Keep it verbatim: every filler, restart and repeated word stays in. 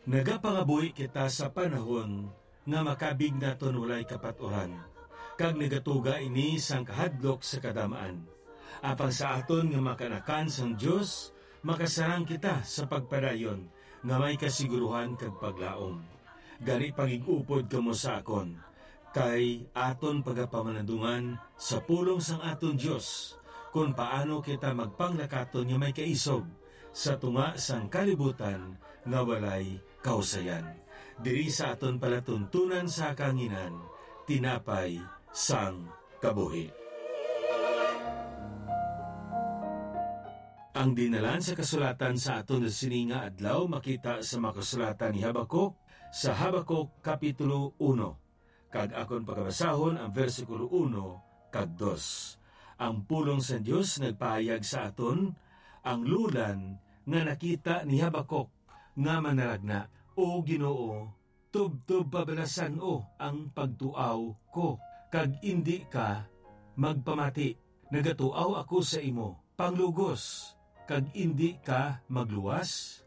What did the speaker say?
Nagapangabuhi kita sa panahon nga makabig naton walay kapaturan, kag nagatuga ini sang kahadlok sa kadamaan. Apang sa aton nga makanakan sang Dios, makasarang kita sa pagpadayon nga may kasiguruhan kag paglaom. Gani, pagig-upod kamo sa akon, kay aton pagapamalandungan sa pulong sang aton Dios, kon paano kita magpanglakaton nga may kaisog sa tunga sang kalibutan nga walay kahusayan. Diri sa aton palatuntunan sa kahanginan, tinapay sang kabuhi. Ang dinalan sa kasulatan sa aton sini nga adlaw makita sa mga kasulatan ni Habacuc, sa Habacuc Kapitulo uno, kag akon pagabasahon ang bersikulo uno kag dos. Ang pulong sa Dios nagpahayag sa aton, ang lulan nga nakita ni Habacuc nga manalagna, "O Ginoo, tubtob pabalasan-o ang pagtuaw ko, kag indi ka magpamati. Nagatuaw ako sa imo, panglugos, kag indi ka magluwas."